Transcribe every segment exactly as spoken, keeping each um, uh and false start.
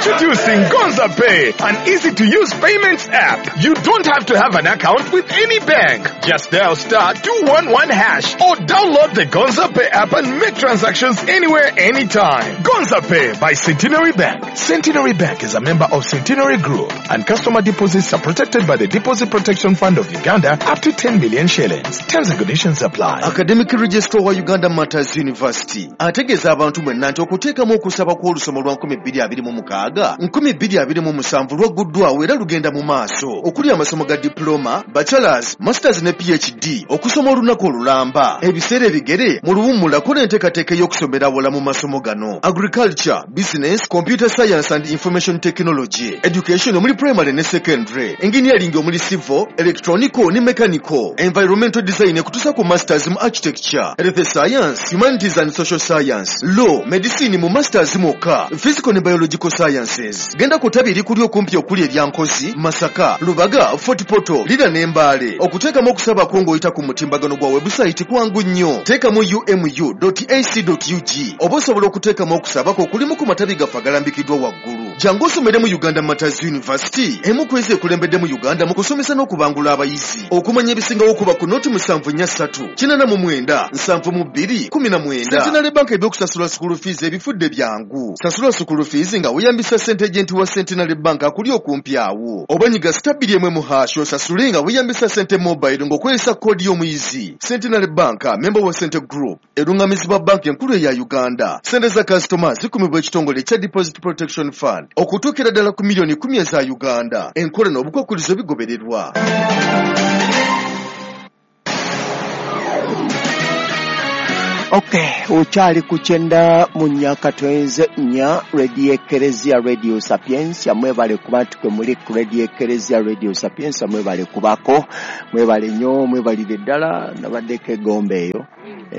Introducing Gonza Pay, an easy-to-use payments app. You don't have to have an account with any bank. Just dial star two one one hash or download the Gonza Pay app and make transactions anywhere, anytime. Gonza Pay by Centenary Bank. Centenary Bank is a member of Centenary Group, and customer deposits are protected by the Deposit Protection Fund of Uganda up to ten million shillings. Terms and conditions apply. Academic Registrar wa Uganda Martyrs University ategeeza abantu mwenna nti okuteekamu okusaba kw'olusoma lwa nkumi bbiri abiri mu mukaaga nkumi bbiri abiri mu musanvu lwagguddwawo era lugenda mu maaso okuli amasomo ga diploma, bachelors, masters ne P H D okusoma olunaku olulamba ebiseera ebigere mu luwummula kola enteekateeka ey'okusomera awala mu masomo gano: agriculture, business, computer science and information technology, education omuli primary ne secondary, engineering omuli civil, electronical ne mechanical, environmental design ekutuusa ku masters mu architecture, health science, humanities and social science, law, medicine mu masters mwokka, physical ne biological sciences. Genda ku ttabi erikuli okumpi okuli erya Nkozi, Masaka, Lubaga, Fort Portal, Lira ne Mbale. Okuteekamu okusaba kwo ng'oyita ku mutimbagano gwa website kwangu nnyo. Teekamu U M U dot A C dot U G oba osobola okuteekamu okusaba kwo okulimu ku matabi gaffe agalambikiddwa waggulu. Jangu osomere mu Uganda Martyrs University, emu ku ezo ekulembedde mu Uganda mu kusomesa n'okubangula abayizi. Okumanya ebisingawo kuba ku noti musanvu nnya ssatu kinaana mu mwenda nsanvu mu bbiri kumi na mwenda. Centenary Bank ebyokusasula school fees ebifudde byangu. Sasula school fees nga weeyambisa sente agent wa Centenary Bank akuli okumpi awo, oba nyiga star bbiri emu mu hash osasule nga weeyambisa sente mobile ng'okozesa koodi y'omuyizi. Centenary Bank, member wa Sente Group, erungamizibwa banka enkulu eya Uganda. Sente za kasitoma zikumibwa ekitongole ekya Deposit Protection Fund okutuukira ddala ku miliyoni kumi eza Uganda. Enkola n'obukwakulizo bigobererwa. Okay, okyali ku kyenda mu nnya katwenze nnya Radio Ekereziya, Radio Sapiensia. Mwebale kuba nti kwe muli ku Radio Ekereziya, Radio Sapiensia. Mwebale kubako, mwebale nnyo, mwebalire ddala. Nabaddeko egomba eyo,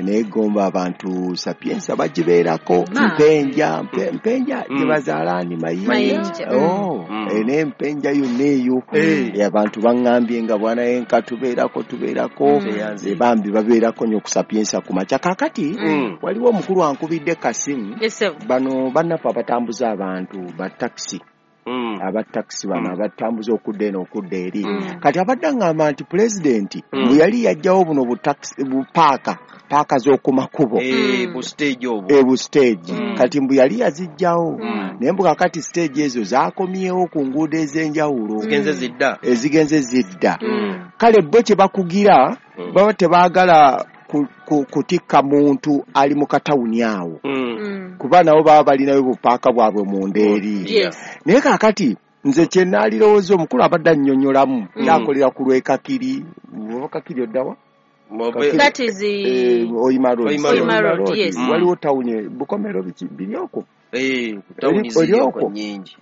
neegomba abantu Sapiensia bagibeerako. Ma. Mpenja, mpe- mpenja Mm. gye bazaala ani Mayinja. Mayinja. Oh, Mm. eh, n'empenja yonna eyo. Eh. Eh, abantu baŋŋambye nga bwanayenka tubeerako tubeerako. Mm. Eh, bambi babeerako nnyo ku Sapiensia ku makya. Kaakati Mm. waliwo omukulu ankubidde kasimu. Yes, sir. Bano bannaffe abatambuza abantu ba takisi, Mm. aba takisi bano Mm. abatambuza okudda eno okudda eri. Mm. Kati abadde aŋŋamba nti pulezidenti Mm. bwe yali yajjawo buno butakisi bupaaka paaka z'oku makubo, Eh, Mm. bu stage obwo. e bu stage. Mm. Kati mbu yali yazijjawo, Mm. naye mbu kakati stage ezo zaakomyewo ku nguudo ez'enjawulo. Zigenze zidda. Ezigenze zidda. Mm. Kale bo kye bakugira, Mm. baba tebaagala ku- ku- kutikka muntu ali mu katawuni awo, Mm. Mm. kuba nabo baba balinayo bupaaka bwabwe munda eri. Yes. Naye kaakati nze kye naalirowooza, omukulu abadde annyonnyolamu, Mm. yakolera ku lw'ekakiri oba Kakiri oddawa? Mobe- That is the Eh, Oyima Road. Oyima Road. Oyima Road, yes. Mm. Waliwo tawuni Bukomero, biki biri okwo? Eh, tawuni Eri- ziri eri okwo okwo? nnyingi.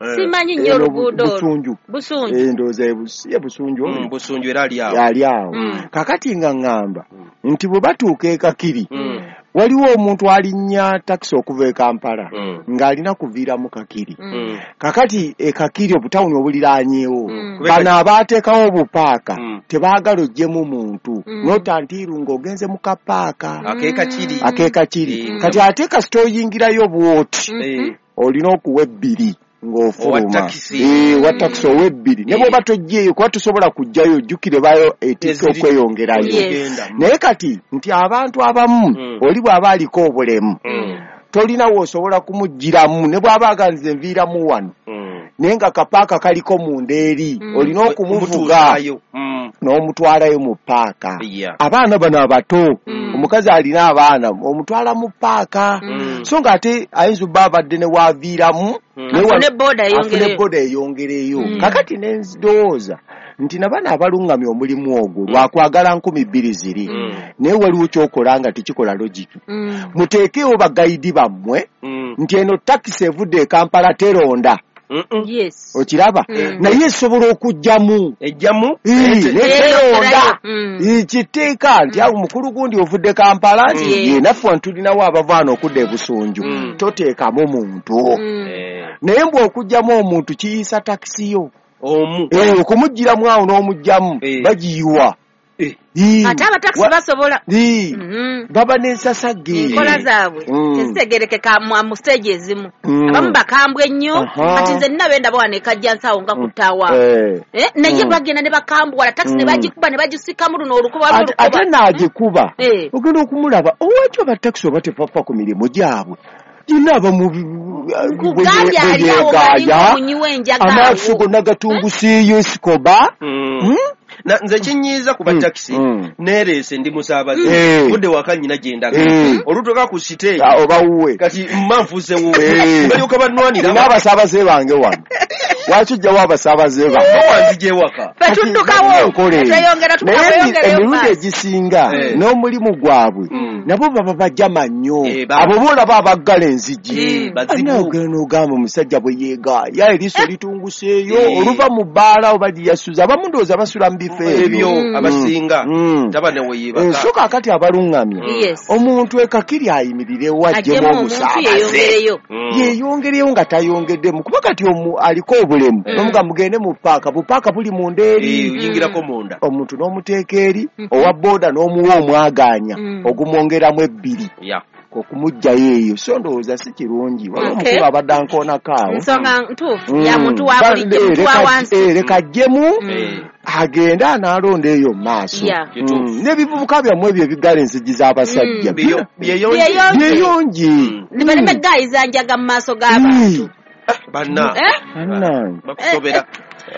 Eh. Simanyi nnyo Eno oluguudo olwo. Busunju. Busunju. Eh, ndowooza ye Bus- ye Busunju Mm, oyo. Busunju era ali awo. Ali awo. Mm. Kakati nga ŋŋamba Mm. nti bwe batuuka e Kakiri, Mm. waliwo omuntu alinnya takisi okuva e Kampala Mm. ng'alina kuviiramu Kakiri. Mm. Mm. Kakati e Kakiri obutawuni obuliraanyeewo, Mm. bano abaateekawo obupaaka Mm. tebaagala oggyemu muntu Mm. n'otantiiru ng'ogenze mu kapaaka Ak'e Kakiri. ak'e Kakiri. Mm. Kati ate kasita oyingirayo bw'oti, Mhm. Eh, olina okuwa ebbiri owa ng'ofuluma. takisi. Eh, owa takisi owa ebbiri ne Eh. bw'oba toggyeeyo, kuba tosobola kuggyayo, ojjukire bayo etikka Eziri- okweyongerayo. Yes. Ogenda. Naye kati nti abantu abamu, Mm. oli bw'aba aliko obulemu, Mm. tolina w'osobola kumuggyiramu ne bw'aba aganze nviiramu wano, Mm. naye nga kapaaka kaliko munda eri, Mm. olina okumuvuga Omutuusaayo. Mm. n'omutwalayo mu paaka. Yeah. Abaana bano abato, Mm. omukazi alina abaana omutwala mu paaka, Mm. so ng'ate ayinza obba abadde ne waaviiramu, Mm. naye wa- Afune boda afune eyongereyo. boda eyongereyo. Mm. Kakati ne ndowooza nti nabano abalungamya omulimu ogwo lwakwagala nkumi bbiri ziri, Mm. naye waliwo kyokola nga tekikola logic. Mm. Muteekewo bagayidi bammwe Mm. nti eno takisi evudde e Kampala teronda. Mm-mm. Yes. Okiraba? Mm. Naye esobola okugjamu. Ejjamu. Ii, neteronda. Mm. Kiteeka nti awo mukulu gundi ovudde Kampala nti Mm. ye naffe wano tulinawo abavaana okudda e Busunju, Mm. toteekamu muntu. Mm. Eh, Naye mbwe okugjamu omuntu kiyisa takisi yo omu. Eh, okumuggyiramu awo n'omugjamu, Eh. bagiyiwa. Eh. Ii. Ate abatakisi Wa- basobola. Ii. Mhm. Baba n'ensasage. Enkola zaabwe Mm. tezitegerekeka mu mu stage ezimu. Mm. Abamu bakambwe nnyo. Aha. Kati nze nina benda bawa nekajja nsawo nga kutaawa. Eh. Eh, naye Mm. bagenda ne bakambuwala takisi ne Mm. bagikuba ne bagisikamu luno olukuba waliwo Ate- ate olukuba. n'agikuba Eh. ogenda okumulaba owaki abatakisi oba tebafa ku mirimu gyabwe gina abamu Kugambye ali awo ng'alinga omunywi w'enjaga amaaso awo. gonna gatunguseeyo esikoba. Mm. Hmm? Na nze kinyiiza ku Mm, batakisi mm. neereese ndi musaabaze Eh. budde waka nnyina gye ndaga Eh. olutuuka ku siteegi Ah, oba wuwe kati mma nfuusewo Eh. balyoka bannwanira nina abasaabaze bange wano waki ojjawo abasaabaze bange wanzija ewaka. Ffe tuddukawo. Enkola eyo. Tweyongera Naye emi- tweyongereyo emirundi maaso. egisinga Eh. n'omulimu gwabwe Mm. nabo baba bajama nnyo Eh, ba- abo boolaba abaggala enzigi. Eh, bazibu. Anagenda n'ogamba omusajja bwe yeegaaya eriiso litunguseeyo Eh. oluva mu bbaala oba gyeyasuza abamu ndowooza basula mu bifo ebyo ebyo Mm. abasinga Mm. taba ne Eh, weyeebaka. so kaakati abaluŋŋamya Yes. omuntu ekakiri ayimirirewo Aggyemu aggyemu omuntu omusaabaze yeeyongereyo. Mm. yeyongereyo nga tayongeddemu kuba kati omu aliko obulemu Mm. nomuga mugende mu paaka bupaaka buli munda eri Eh, oyingirako munda omuntu n'omuteeka eri Mhm. owa booda n'omuwa omwagaanya Mm. ogumwongeramu ebbiri Ya. okumuggyayo eyo so ndowooza si kirungi waliwo Okay. omukulu abadde ankoonako awo. Ensonga ntuufu Mm. ya muntu wa Ba- bulijjo, eh, muntu wa leka- wansi. eh, leka aggyemu Mm. Eh. agende anaalonda eyo mu maaso. Yeah. Kituufu. Mm. N'ebivubuka byammwe ebyo ebiggala enzigi z'abasajja Mm. Byeyo- byeyonje. Byeyonje. byeyongi. Mm. Ne baleme gaayiza njaga mu maaso g'abantu. Banna Eh? Bannange. bakusobera.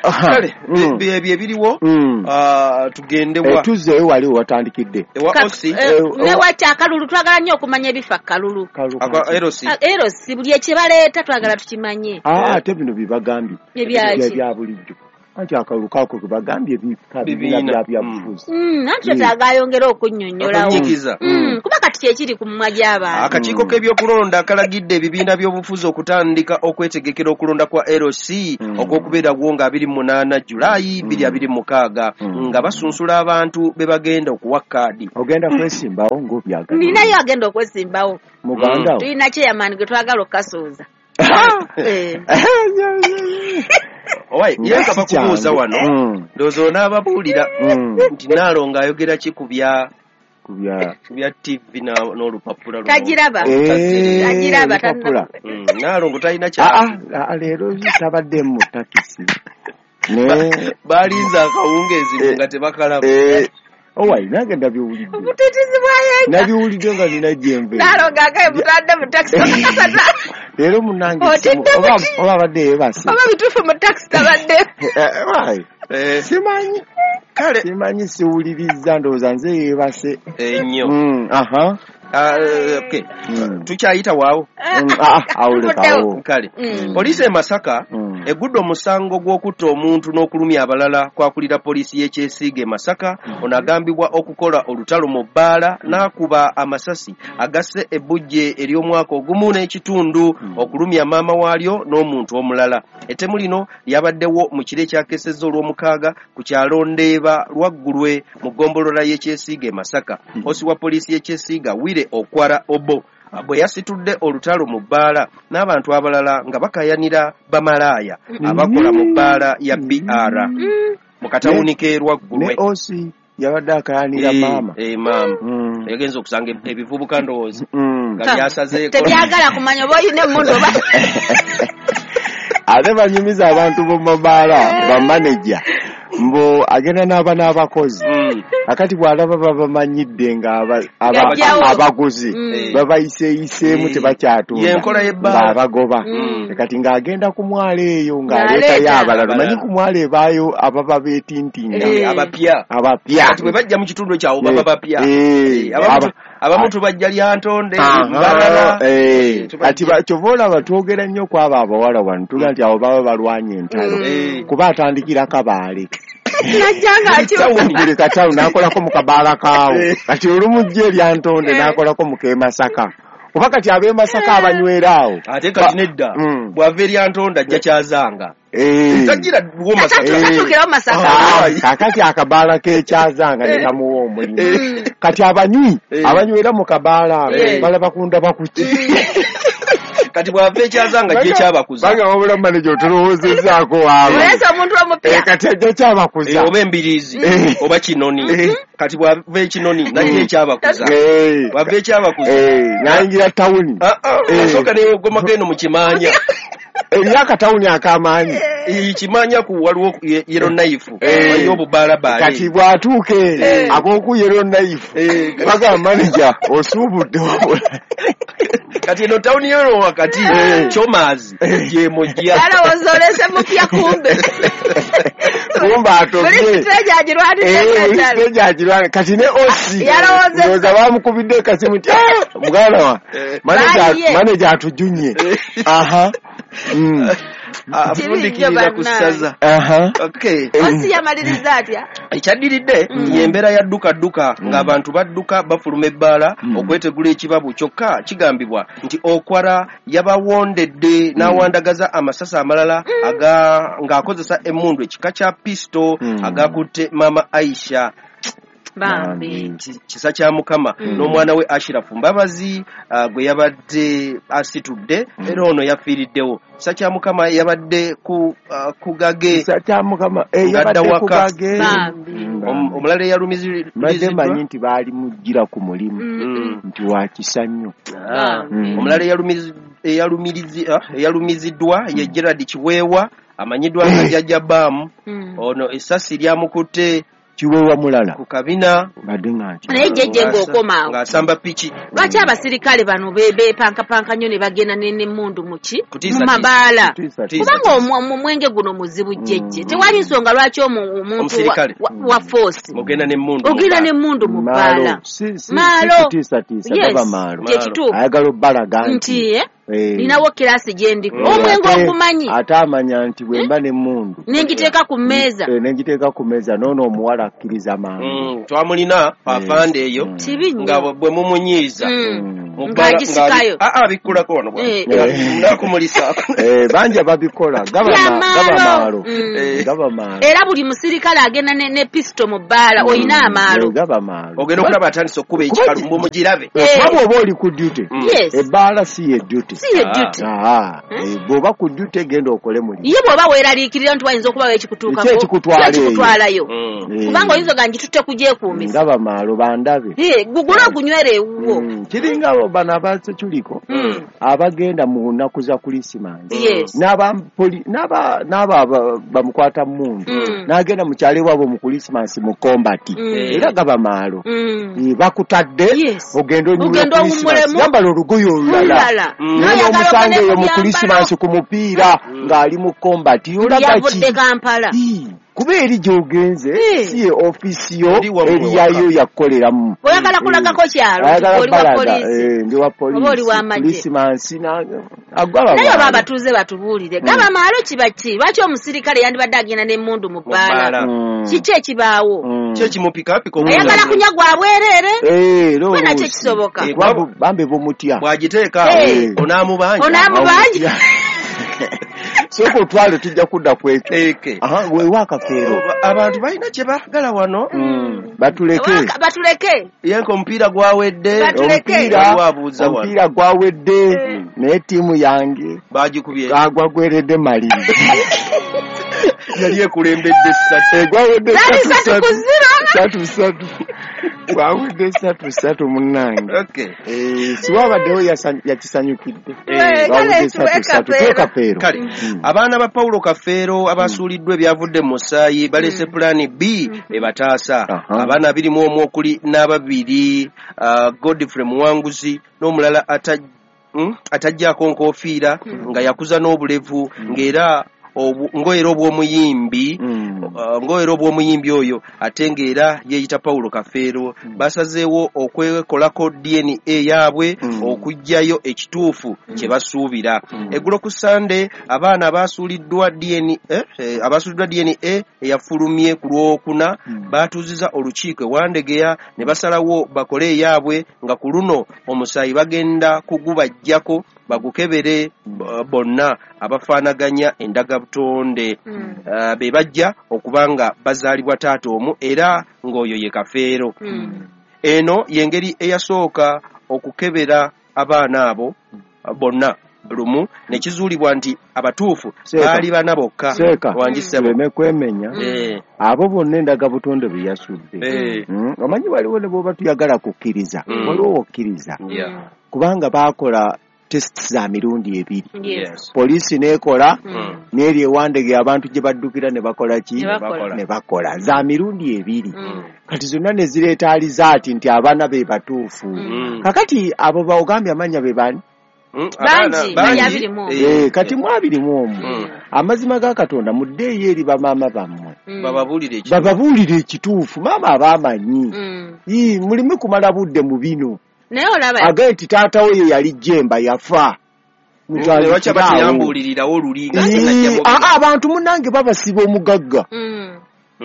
Aha. Kale Mm. bye- byebyo ebiriwo. Mm. Ah, tugende Eh, wa tuzzeeyo wali watandikidde ewa Ka- osi eh, Eh, ne waki akalulu twagala nnyo okumanya ebifa kalulu. Akwa erosi. Ah, Erosi buli ekibaleeta twagala tukimanye. Ah, ate bino byebagambye Ebyaki? ebya bulijjo anti akalulu kako kebagambye bika bibiina Bibiina. bya byabufuzi. Mm, anti twetaaga ayongere okunnyonnyolawo. Okunyikiza. Mm, kuba kati kyekiri ku mumwa gy'abantu. Akakiiko k'ebyokulonda kalagidde ebibiina by'obufuzi okutandika okwetegekera okulonda kwa L C Mm. ogw'okubeerawo nga abiri mu munaana Julaayi bbiri abiri mu mukaaga Mm. nga basunsula abantu be bagenda okuwa kaadi. Ogenda kwesimbawo ng'obyagala Ninayo agenda okwesimbawo. muganda wo. Tulina chairman gwe twagala okukasuuza. Eh. Owaye, Nga ye nga si bakubuuza kyangu. wano Mm. ndowooza onaababuulira Mm. nti Naalongo ayogera ki ku bya Ku bya ku bya T V na- n'olupapula luno. Tagiraba. Eh, Tagiraba, olupapula. Mm, Naalongo talina Ah, kya ah, ah, leero tabadde mu takisi ne balinze akawungeezi Eh, nga tebakalaba. eh, owaye nange ndabiwulidde Obutitizi bwayenga. nabiwulidde nga nina gyenve Naalongo agaye mutadde mu takisi okakasata. leero munange Otidde oba buti. oba abadde yeebase. Oba bituufu mu takisi tabadde. Eh, owaye, Eh, simanyi kale simanyi siwulirizza ndowooza nze yeebase. ennyo. Mm, aha. Ah, eh, okay. Mm. Tukyayita waawo. Mm, ah, awulekawo. Kale Mm. poliisi e Masaka Mm. egudde omusango gw'okutta omuntu n'okulumya abalala kwakulira poliisi y'ekyesiiga e Masaka. Ono agambibwa okukola olutalo mu bbaala n'akuba amasasi agasse ebbujje ery'omwaka ogumu n'ekitundu okulumya maama waalyo n'omuntu omulala. Ettemu lino lyabaddewo mu kiro ekyakesezza olw'omukaaga ku kyalo Ndeeba Lwaggulwe mu ggombolola y'ekyesiiga e Masaka. Osi wa poliisi y'ekyesiiga Wire Okwara Obo bwe yasitudde olutalo mu bbaala n'abantu abalala nga bakayanira bamalaaya abakola mu bbaala ya B R Mm. mu katawuni k'e Ne Lwaggulwe. osi yabadde akayanira Eh, maama. eh, maama Mm. yagenza okusanga ebivubuka ndowooza Mm. nga byasazeeko. Tebyagala kumanya oba olina emmundu oba. Ate banyumiza abantu b'omumabaala bamaneja mbu agenda n'aba n'abakozi Mm. akati bw'alaba babamanyidde nga aba- aba- Gajjawo. abaguzi Mm. babayiseeyiseemu Eh. tebakyatunda Y'enkola y'ebbaala. ng'abagoba. Mm. Kati ng'agenda ku mwalo eyo ng'aleetayo Ng'aleeta. abalala omanyi Abalala. ku mwalo ebaayo ababa beetintinga Eh. Abapya abapya kati bwe bajja mu kitundu ekyawo baba bapya. Eh, Eh, abamu aba- tu- abamu tubajja Lyantonde Aha, Mbarara. eh, Eh, tubajja. kati ba- kyova olaba twogera nnyo ku abo abawala wano tuga nti abo baba balwanye entalo Mm. Eh. kuba atandikira Kabaale Najja ng'akyuka. buli katawuni n'akolako mu kabaala kaawo Eh. kati olumujja eryantonde Eh. n'akolako mu k'e Masaka kuba kati ab'e Masaka abanywera awo Ate kati nedda Mm. bw'ava eryantonde ajja Kyazanga Eh. tagira wo Masaka. Eh. Tatuukirawo Masaka. Ah, kakati akabaala k'ekyazanga ne kamuwa omulimu Mm. kati abanywi Eh. abanywera mu kabaala ako Eh. balaba kundaba kuki. Kati bw'ava ekyazanga gye kyabakuza. Banga wabula manager otulowoozezaako waabwe. Oleese omuntu omupya. Eh, kati ajja kyabakuza. Eh, oba embiriizi Eh. oba kinoni. Eh. Kati bw'ava ekinoni najja ekyabakuza. Eh. Bw'ava ekyabakuza. Eh, n'ayingira tawuni. Ah, ah, Eh. asooka neyogomako eno mu kimanya. Eriyo akatawuni ak'amaanyi. Eh, kimanya ku waliwo ye- yellow knife. Eh. Waliyo obubaalabaala. Kati bw'atuuka eyo ab'oku yellow knife bagamba manager osuubudde wabula. Kati eno tawuni yero wakati Eh. Chomazi gyemujja. Alowooza oleese mupya kumbe. Kumbe atobye. Buli siteegi agirwanidde Eh, buli ddala. siteegi agirwana. Kati ne O C Yalowooza ndowooza bamukubidde ekasimu nti, "Ah, muganda wa, Eh. manager Bayiye. manager atujunye." Aha. Mm. Afundikirira ku ssaza. Aha. Okay. O C yamaliriza atya? Ekyaddiridde y'embeera ya dduka dduka ng'abantu badduka bafuluma ebbaala okwetegula ekibabu kyokka kigambibwa nti Okwara yabawondedde n'awandagaza amasasi amalala aga ng'akozesa emmundu ekika kya pisto agakutte Maama Aisha. Bambi. Ki- kisa kya Mukama n'omwana we Ashirafu Mbabazi ah, gwe yabadde asitudde era ono yafiiriddewo. Kisa kya Mukama yabadde ku ah, ku gage Kisa kya Mukama eh, Ngadda yabadde ku waka. gage. Bambi. Om- omulala Mbadde mmanyi eyalumiziddwa nti baali mujjira ku mulimu Mm. nti wa kisa nnyo. Ah. Mm. Omulala eyalumizi- eyalumirizi- ah, eyalumiziddwa ye Gerard Kiweewa amanyiddwa nga Jjajja Baamu. Mm. Ono essasi lyamukutte Kiweewa mulala ku kabina mbadde nga nti Naye jjajja ng'okoma awo. ng'asamba piki. Lwaki abasirikale bano be- beepankapanka nnyo ne bagenda ne- n'emmundu mu ki? Kutiisa Mu mabaala. Kutiisa tiisa. Kubanga omu- omwenge guno muzibu jjejje. Tewali nsonga lwaki omu- omuntu wa- Omusirikale. wa- wa force Mugenda n'emmundu mu ogenda bbaala. n'emmundu mu Maalo. bbaala. Si- si- si Maalo. kutiisatiisa, Yes, gaba maalo. kye kituufu. Ayagala obbalaga nti Nti eh, eh, ninawo kiraasi gye ndiko. eh, Omwenge ate- ogumanyi ate amanya nti bwe mba n'emmundu ne ngiteeka ku mmeeza. eh, ne ngiteeka ku mmeeza n'ono omuwala akkiriza mangu. Mm, twamulina afande eyo Mm. Kibi nnyo. nga bwe mumunyiiza Mm. Mm. Mu bbaala- Ng'agisikayo. ng'abi- ah, ah, abikkulako wano bwa- Eh. Eh. N'akumulisa. Eh, bangi ababikola gaba Bya ma- maalo. gaba maalo. Mm. Eh. Gaba maalo. Era buli musirikale agenda ne, ne pisto mu bbaala olina amaalo. Eh, gaba maalo. Ogenda okulaba atandise okukuba ekikalu mbu mugirabe. Eh, Eh. kuba bw'oba oli ku duty Mm. Yes. ebbaala si ye duty. Si ye Ah. duty. Ah, eh, bw'oba ku duty genda okole mulimu. Ye bw'oba weeraliikirira nti wayinza okubawo ekikutuukako, Ki ekikutwala ki ekikutwalayo. Mm. Eh, Kubanga oyinza oga ngitutte kugyekuumisa. ngaba maalo bandabe. Eh, gugule ogunywere ewuwo. Mm, kiringa abo bano abaseculiko Mm. abagenda mu nnaku za Krisimansi Yes. n'aba poli- n'aba n'aba aba- bamukwata mmundu Mm. n'agenda mu kyalo ewaabwe mu Krisimansi mu kombati Mm. era gaba maalo. Mm. Eh, bakutadde Yes. ogende onyumye Ogende Krisimansi owummulemu. yambala olugoye olulala Olulala. Mm. naye N'oyagala n'omusanga ogende eyo ku mu byambalo. Krisimansi ku mupiira ng'ali mu kombati olaga ki? Yavudde Kampala. Ii, kuba eri gy'ogenze Eh. si ye ofiisi yo Eri wammwe eri yayo waka. yakukoleramu. Oyagala kulagako kyalo nti Ayagala oli wa balaga, poliisi. eh, ndi wa poliisi. Oba oli wa magye. Krisimansi na- agaba Naye oba maalo. abatuuze batubuulire. Gaba maalo kiba ki? Lwaki omusirikale yandibadde agenda n'emmundu mu Mu bbaala? bbaala. Mm. Kiki ekibaawo? Mm. Ki ekimupikaapika Ayagala kunywa gwa bwereere? Eh, era Kuba nakyo oluusi. kisoboka. Eh, Kuba bu- bambi bumutya. bw'agiteeka awo Eh. onaamubanja. Onaamubanja. Sooka otwale tujja kudda ku ekyo. Eke. Aha, weewa akafeero. Abantu balina kye baagala wano. Mm, Batuleke. Waka- Batuleke. Yenka omupiira gwawedde. Batuleke. Omupiira Waliwo abuuza wano. omupiira gwawedde naye ttiimu yange Baagikubye. agwagweredde maliri. Yali ekulembedde ssatu. Egwawedde Zaali ssatu ssatu ku ssatu. zero. Ssatu ssatu. Gwawedde ssatu ssatu munnange. Okay. Eh, siwabaddewo yasa- yakisanyukidde. Eh, Gwawedde kale ssatu tuwe ssatu. kafeero. Tuwe kafeero. Kale Mm. abaana ba Paulo Kafeero abasuuliddwa ebyavudde mu musaayi baleese pulaani B ebataasa. Aha. Abaana abiri mu omu okuli n'ababiri ah, Godfrey Muwanguzi n'omulala ata- mm, atajjaako nkoofiira nga yakuza n'obulevu ng'era obu- ng'era obw'omuyimbi Mm. Uh, ng'era obw'omuyimbi oyo ate ng'era yeeyita Paulo Kafeero basazeewo okwekolako D N A yaabwe Mm. okuggyayo ekituufu kye basuubira. Eggulo ku Ssande abaana abaasuuliddwa D N A eh, abaasuuliddwa D N A eyafulumye ku Lwokuna baatuuzizza olukiiko e Wandegeya ne basalawo bakole eyaabwe nga ku luno omusaayi bagenda kugubaggyako bagukebere uh, bonna abafaanaganya endagabutonde. Mm. Uh, be bajja okuba nga bazaalibwa taata omu era ng'oyo ye Kafeero. Mm. Eno y'engeri eyasooka okukebera abaana abo uh, bonna. lumu ne kizuulibwa nti abatuufu baali bana bokka. Wangisebe kwemenya abo bonna endagabutonde bye yasudde. Omanyi waliwo ne bw'oba tuyagala kukkiriza waliwo okkiriza kubanga baakola tests za mirundi ebiri. Poliisi n'ekola n'eri ewandege abantu gye baddukira ne bakola ki ne bakola za mirundi ebiri. Kati zonna ne zireeta alizaati nti abaana be batuufu. Kakati abo baogambye amannya be bani? Bangi, bangi abiri mu omu. Eh, kati mu abiri mu omu. Amazima ga Katonda muddeeyo eri bamaama bammwe. Bababuulire ekituufu. Bababuulire ekituufu, maama abaamanyi. Ii, mulimu kumala budde mu bino. Naye olaba agaye nti taata we ye yali Jemba yafa. Lwaki abatuyambuulirirawo luli nga sinajja mu bino? Abantu munnange babasiba omugagga.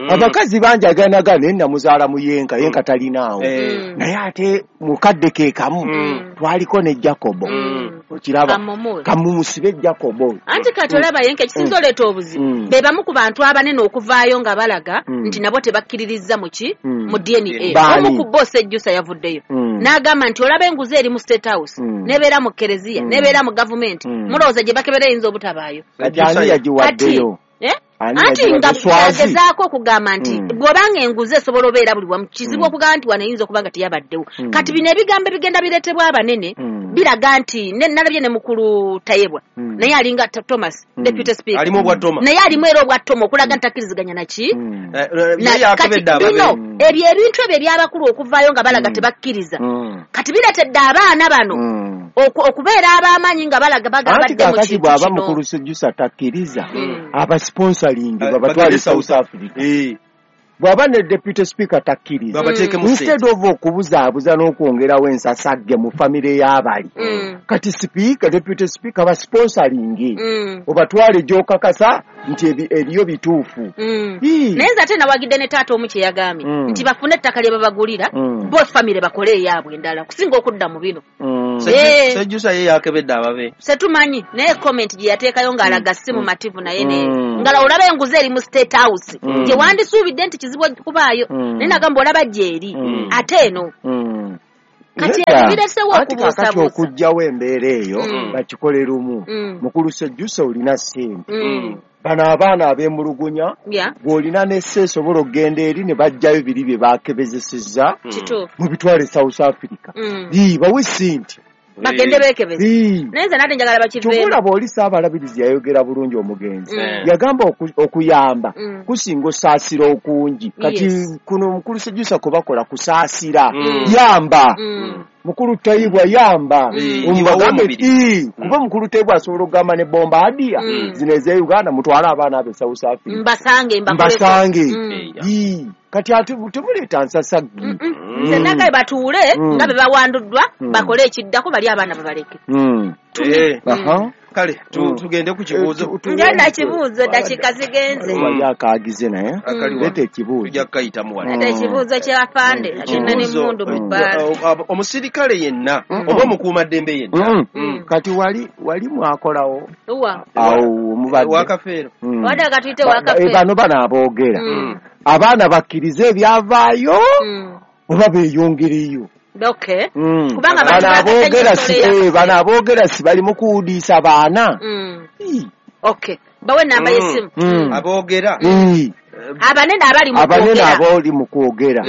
Abakazi bangi aganaga naye namuzaala mu yenka, yenka talinaawo. Naye ate mukadde ke kamu twaliko ne Jacobo. Okiraba kamumusibe Jacobo. Anti kati olaba yenka ekisinza oleeta obuzibu be bamu ku bantu abanene okuvaayo nga balaga nti nabo tebakkiririzza mu ki mu D N A. Omu ku bo Sejjusa yavuddeyo n'agamba nti olaba enguzi eri mu State House nebeera mu Kereziya nebeera mu gavumenti mulowooza gye bakebera eyinza obutabaayo. Kati ani yagiwaddeyo? Anti nga agezaako okugamba nti bw'obanga enguzi esobola obeera buli wamu kizibu okugamba nti wano eyinza okuba nga teyabaddewo. Kati bino ebigambo ebigenda bireetebwa abanene biraga nti nalabye ne mukulu Tayebwa naye alinga Thomas Deputy Speaker alimu obwa Toma naye alimu era obwa Toma okulaga nti takkiriziganya naki. Kati bino ebyo ebintu ebyo eby'abakulu okuvaayo nga balaga tebakkiriza kati bireetedde abaana bano okubeera ab'amaanyi nga balaga bagabadde mu kintu kino. Bw'aba mukulu Sejjusa takkiriza aba sponsoring babatwale South Africa. Bw'aba ne Deputy Speaker takkiriza instead of okubuzaabuza n'okwongerawo ensasagge mu famire y'abali kati Speaker, Deputy Speaker ba sponsoring obatwale gy'okakasa nti eriyo bituufu. Naye nze ate nawagidde ne taata omu kye yagambye nti bafune ettaka lye babagulira both famire bakole eyaabwe endala kusinga okudda mu bino. Sejjusa ye yakebedde ababe setumanyi naye comment gye yateekayo ng'alaga si mumativu naye ne ngala olaba enguzi eri mu State House gye wandisuubidde nti kizibu okubaayo naye nagamba olaba gy'eri ate eno kati ebyo biresewo okubuusabuusa. Okuggyawo embeera eyo bakikole lumu. Mukulu Sejjusa olina ssente bano abaana ab'emulugunya bw'olina n'esse esobola okugenda eri ne baggyayo biri bye baakebezesezza mu bitwale South Africa. Bawe ssente bagende beekebeze. Naye nze nate njagala bakiveemu. Kyova oli Ssaabalabirizi yayogera bulungi omugenzi yagamba okuyamba kusinga osaasira okungi. Kati kuno mukulu Sejjusa kwe bakola kusaasira yamba mukulu Tayebwa yamba kuba mukulu Tayebwa asobola okugamba ne bombadia zino ez'e Uganda mutwale abaana abe South Africa mbasange mbasange. Kati ate temuleeta nsasaggi. Nze nagaye batuule nga be bawanduddwa bakole ekiddako bali abaana babaleke. Kale tugende ku kibuuzo. Ngenda kibuuzo dakiika zigenze. Wali akaagize naye leeta ekibuuzo. Tujja kukayitamu wano. Leeta ekibuuzo ky'afande agenda n'emmundu mu bbaala. Omusirikale yenna oba omukuumaddembe yenna. Kati wali wali mwakolawo. Awo omubadde. Wakafeero. Wadde akatuyite wakafeero. Bano bano aboogera. Abaana bakkirize ebyavaayo oba beeyongereyo. Okay. Kubanga abantu si bano aboogera si bali mu kuwudiisa baana. Okay. Bawe namba y'essimu. Aboogera. Abanene abali mu kwogera. Abanene abali mu kwogera.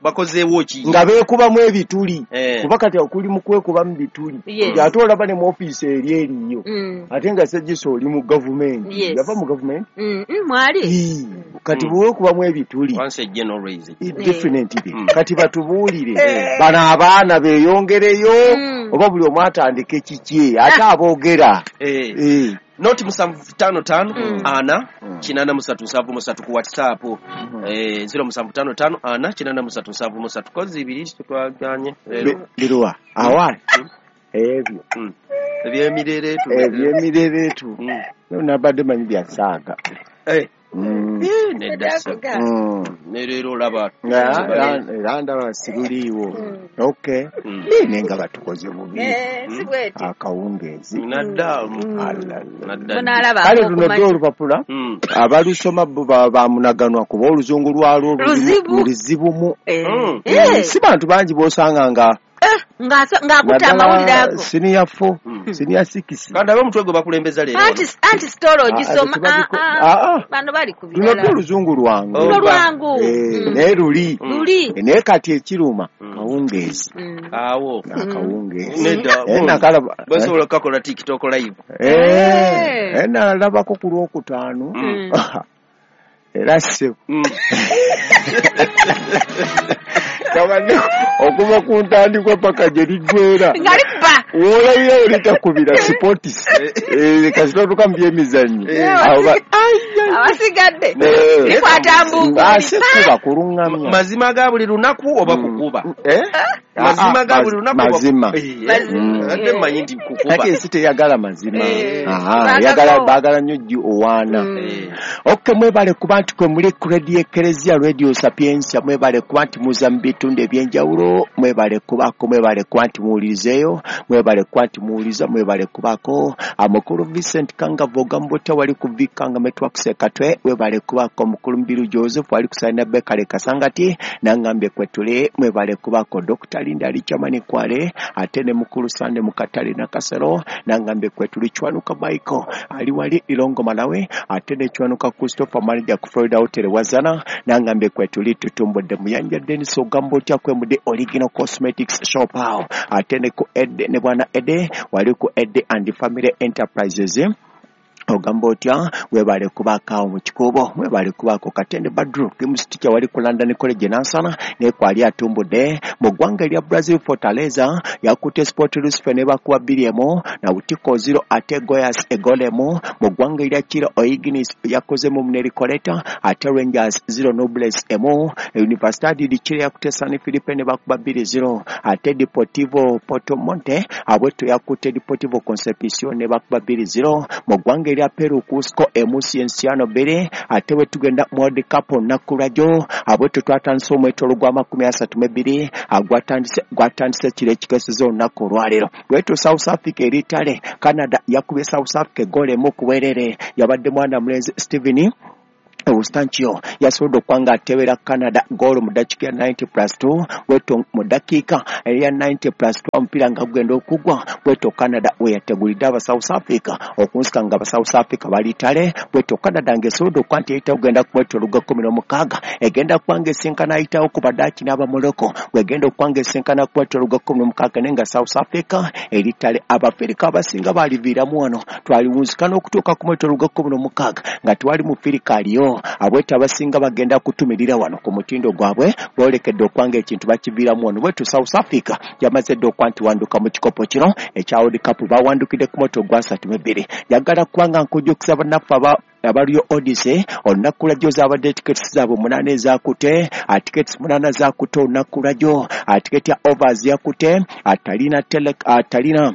Bakozeewo ki? Nga beekubamu ebituli. Kuba kati okuli mu kwekubamu bituli. Ate olaba ne mu ofiisi eri eriyo. Ate nga Sejjusa oli mu gavumenti. Yava mu gavumenti? Mwali. Kati bwekubamu ebituli. Once a general raise. Definitely. Kati batubuulire. Bano abaana beeyongereyo oba buli omu atandike kiki ate aboogera. Noti musanvu tano tano ana kinana musatu nsanvu musatu ku WhatsApp eh zero musanvu tano tano ana kinana musatu nsanvu musatu kozi ibiri twaganye biruwa awali ebyo ebyemirere tu ebyemirere tu nabadde manyi bya saaga eh nedda ne leero olaba era ndaba siruliiwo. Okay, naye nga batukoze bubi akawungeezi nadda kale luno dde olupapula abalusoma bo bamunaganwa kuba oluzungu lwalwo luzibumu. Si bantu bangi b'osanga nga Ng'akutta amawulire ago. Senior four, senior six. Kandi ab'omutwe gwe bakulembeza leero. Anti anti story ogisoma. Bano bali ku birala. Luno oluzungu lwangu. Luno lwangu. Naye luli. Luli. Naye kati ekiruma kawungeezi. Awo. Akawungeezi. Nedda. Nakalaba. Basobola okukakola TikTok live. Eh. Nalabako ku lwokutaano. Era ssebo. Kabane okuva ku ntandikwa paka gye liggwera. Nga likuba. W'olabira olitakubira sports. Eh, kasita otuuka mu byemizannyo. Awo abasigadde. Likwata mbugu. Ase kuba kulungamya. Mazima ga buli lunaku oba kukuba? Eh? Mazima ga buli lunaku mazima. Ate mmanyi nti kukuba. Kati ensi teyagala mazima. Aha, eyagala baagala nnyo ggi owaana. Okay, mwebale kuba nti kwe muli ku Radio Eklezia Radio Sapientia, mwebale kuba nti muza mu bitundu ebyenjawulo, mwebale kubaako, mwebale kuba nti muwulirizeeyo, mwebale kuba nti muwuliriza, mwebale kubaako. Mukulu Vincent Kangavo Gambota wali ku Vikanga Networks Katwe, webale kubaako. Mukulu Mbiru Joseph wali kusaina Bekale Kasangati, nangambye kwetule, mwebale kubaako. Doctor Linda Richamani Kwale, ate ne Mukulu Sande Mukatale na Kasero, nangambye kwetule. Chwanuka Michael ali wali Ilongo Malawi, ate ne Chwanuka Christopher manager ku Florida Hotel Wazana, nangambye kwetule. Tutumbodde Muyanja Dennis Ogambotya kwemude Original Cosmetics Shop awo, ate ne ku Ede ne bwana Ede wali ku Ede and Family Enterprises. Ogamba otya, webale kubaako awo mu kikuubo, mwebale kubaako. Katende Badru kimusitija wali ku London College Nansana, naye kwali atumbudde. Mu ggwanga erya Brazil, Fortaleza yakutte Sport Recife ne bakuba bbiri emu, Nautiko zero ate Goiás egoal emu. Mu ggwanga erya Chile, O'Higgins yakozemu Munericoleta, ate Rangers zero Nobles emu. Universidad de Chile yakutte San Felipe ne bakuba bbiri zero, ate Deportivo Porto Monte abweto yakutte Deportivo Concepcion ne bakuba bbiri zero. Mu ggwanga erya Peru, Cusco emu Cienciano bbiri. Ate bwe tugenda mu World Cup olunaku lwajjo, abweto twatandise omwetoolo gwa makumi asatu mu ebbiri gwatandise gwatandise kiro ekikeeseza olunaku olwaleero. Bwetyo South Africa eri ttale, Canada yakubye South Africa eggoolo emu ku bwerere, yabadde mwana mulenzi Steven Eustanchio yasobodde okuba nga atebera Canada goolo mu ddakiika ya ninety plus two. Bwetyo mu ddakiika eya ninety plus two omupiira nga gugenda okugwa, bwetyo Canada we yategulidde aba South Africa okunsika nga aba South Africa bali ttale. Bwetyo Canada ng'esobodde okuba nti eyitawo kugenda ku mwetoolo gwa kkumi n'omukaaga, egenda kuba ng'esinkana ayitawo ku Badaaki n'Abamorocco, bw'egenda okuba ng'esinkana ku mwetoolo gwa kkumi n'omukaaga, naye nga South Africa eri ttale. Abafirika abasinga baaliviiramu wano, twaliwunzika n'okutuuka ku mwetoolo gwa kkumi n'omukaaga nga tewali mufirika aliyo. Abweto abasinga bagenda kutumirira wano ku mutindo gwabwe, boolekedde okuba ekintu bakiviiramu wano. Bwetu South Africa yamaze dda okuba nti wanduka mu kikopo kino ekya World Cup, bawandukidde ku moto gwa asatu mu ebbiri. Njagala kuba nga nkujjukiza bannaffe aba abaliyo Odyssey, olunaku lwajjo zaabadde tickets zaabwe munaana ezaakute, tickets munaana zaakute olunaku lwajjo. Ticket ya overs yakute atalina tele atalina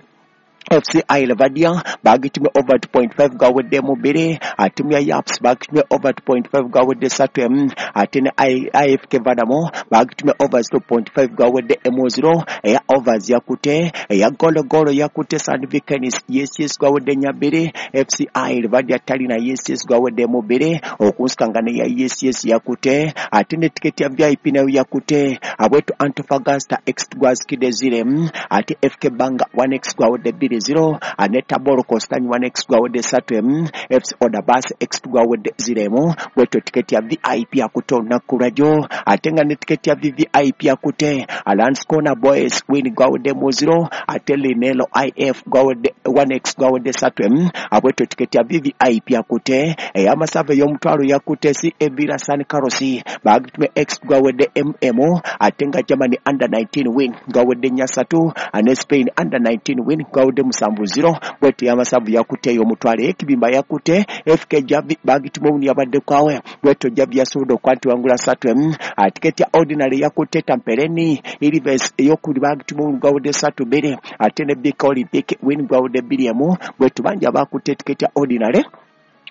F C I Levadia bagitumye over two point five gaweddemu bbiri, tiimu ya Yaps bagitumye over two point five gawedde ssatu emu, ate ne I F K Vanamo bagitumye over zero point five gawedde emu zero. Eya overs yakute, eya gologolo yakute San Vikenis yes yes gawedde nnya bbiri, F C I Levadia Talina yes yes gawedde emu bbiri, okunsika nga neya yes yes yakute, ate ne tiketi ya V I P nayo yakute. Abwetu Antofagasta X gwazikidde zero emu, ate F K Banga one X gwawedde bbiri zero, Aneta Bolo Constantine one X gwawedde ssatu emu, F C Odabas X gwawedde zero emu. Bwetyo tiketi ya V I P yakute olunaku lwajjo, ate nga ne tiketi ya V V I P yakute Alliance Corner Boys win gwawedde mu zero, ate Linelo I F gwawedde one X gwawedde ssatu emu. Abwetyo tiketi ya V V I P yakute. Ey'amasavu ey'omutwalo yakute C A Villa San Carlos bagitumye X gwawedde M M, ate nga Germany under nineteen win gwawedde nnya ssatu, ane Spain under nineteen win gwawedde musanvu zero. Bwetyo y'amasavu yakute ey'omutwalo ekibimba yakute F K Javi bagitumye obuni yabadde kwawe, bwetyo Javi yasobodde okuba nti wangula ssatu emu. Tiketi ya ordinary yakute Tampereni Ilves ey'okubiri bagitumye obuni gwawedde ssatu bbiri, ate ne Bika Olympic win gwawedde bbiri emu. Bwetyo bangi abakutte tiketi ya ordinary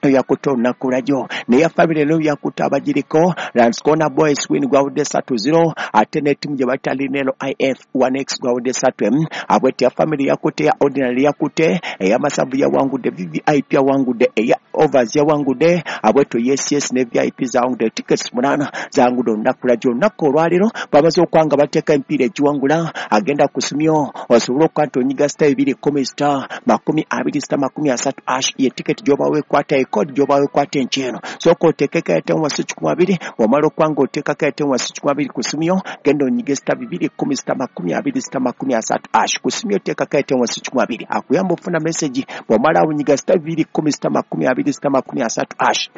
Yakutte olunaku lwajjo neya family nayo yakutte abagiriko Lanskona Boys win gwawudde ssatu zero ate ne ttiimu gye bayita Linelo I F one X gwawudde ssatu emu. Abwete ya family yakutte, ya ordinary yakutte, ey'amasavu yawangudde, V V I P yawangudde, eya overs yawangudde, abwetyo yes yes ne V I P zawangudde tickets munaana zawangudde olunaku lwajjo. Olunaku olwaleero bamaze okwanga bateeka emipiira egiwangula agenda ku simyo osobola okuba nti onyiga star ebiri kkumi star makumi abiri star makumi asatu ash ye tiketi gy'oba weekwata ekodi gy'oba weekwata enkyeno. Sooka oteekeko airtime wansi kikumi abiri, bw'omala okuba nga oteekako airtime wansi kikumi abiri ku simyo genda onyige star bibiri kkumi star makumi abiri star makumi asatu ash ku simyo oteekako airtime wansi kikumi abiri akuyamba ofuna message. Bw'omala onyiga star bibiri kkumi star makumi abiri star makumi asatu ash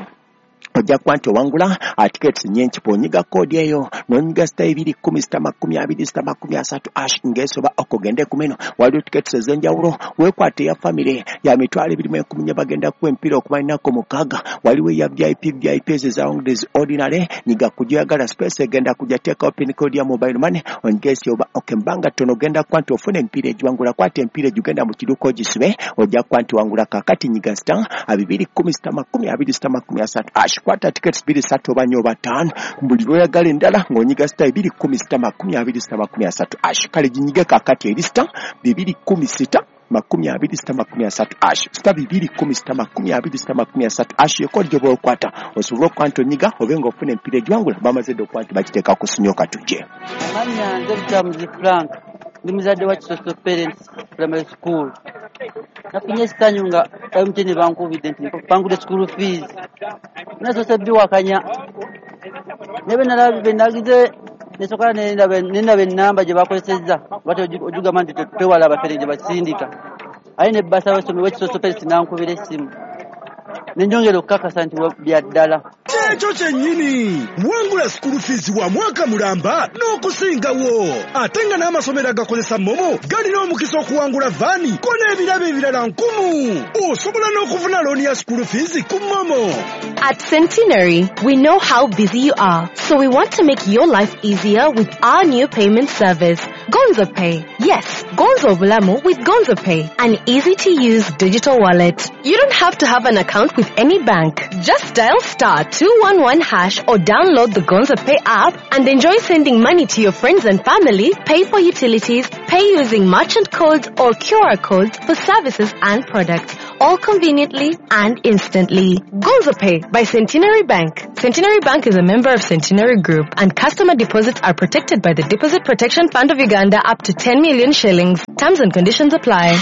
ojja kuba nti owangula tickets nnyingi. Bw'onyiga koodi eyo n'onyiga star ebiri kkumi star makumi abiri star makumi asatu ash ng'esoba okugende ku meno waliwo tickets ez'enjawulo. Weekwate eya family ya mitwalo ebiri mu enkumi nnya bagenda kuwa emipiira okumala ennaku mukaaga. Waliwo eya V I P, V I P ezo ezawangudde zi ordinary nyiga ku gy'oyagala space egenda kujja teekawo pin code ya mobile money onyige esoba ok mbanga ttono ogenda kuba nti ofuna emipiira egiwangula. Kwata emipiira egigenda mu kiduuka ogisibe ojja kuba nti wangula. Kaakati nyiga star bibiri kkumi star makumi abiri star makumi asatu ash kwata tickets bbiri ssatu oba nnya oba ttaano buli lw'oyagala endala ng'onyiga star ebiri kkumi sita makumi abiri sita makumi asatu ash. Kale ginyige kaakati eri star bibiri kkumi sita makumi abiri sita makumi asatu ash star bibiri kkumi sita makumi abiri sita makumi asatu ash yekodi gy'oba okwata osobola okuba nti onyiga obe ng'ofuna emipiira egiwangula. Bamaze dda okuba nti bagiteeka ku simyoka tujje. Amannya nze Butamuzi Frank, ndi muzadde wa Kisoso Parents Primary School. Nafunye essanyu nga M T N bankubidde nti bangudde school fees. Nasoose biwakanya naye bwe nagize nesooka nendaba ennamba gye bakozesezza lwaki ogigamba nti twewala abafere gye basindika aye ne bbasa w'essomero w'Ekisoso Parents n'ankubira essimu ne njongera okukakasa nti bya ddala. Ekyo kyennyini wangula school fees wa mwaka mulamba n'okusingawo ate nga n'amasomero agakozesa MoMo galina omukisa okuwangula vaani ko n'ebirabo ebirala nkumu. Osobola n'okufuna looni ya school fees ku MoMo. At Centenary, we know how busy you are, so we want to make your life easier with our new payment service, Gonzo Pay. Yes, Gonzo Bulamu with Gonzo Pay, an easy-to-use digital wallet. You don't have to have an account with any bank. Just dial star two one one hash or download the Gonzo Pay app and enjoy sending money to your friends and family, pay for utilities, pay using merchant codes or Q R codes for services and products, all conveniently and instantly. Gonzo Pay by Centenary Bank. Centenary Bank is a member of Centenary Group and customer deposits are protected by the Deposit Protection Fund of Uganda up to ten million shillings. Terms and conditions apply.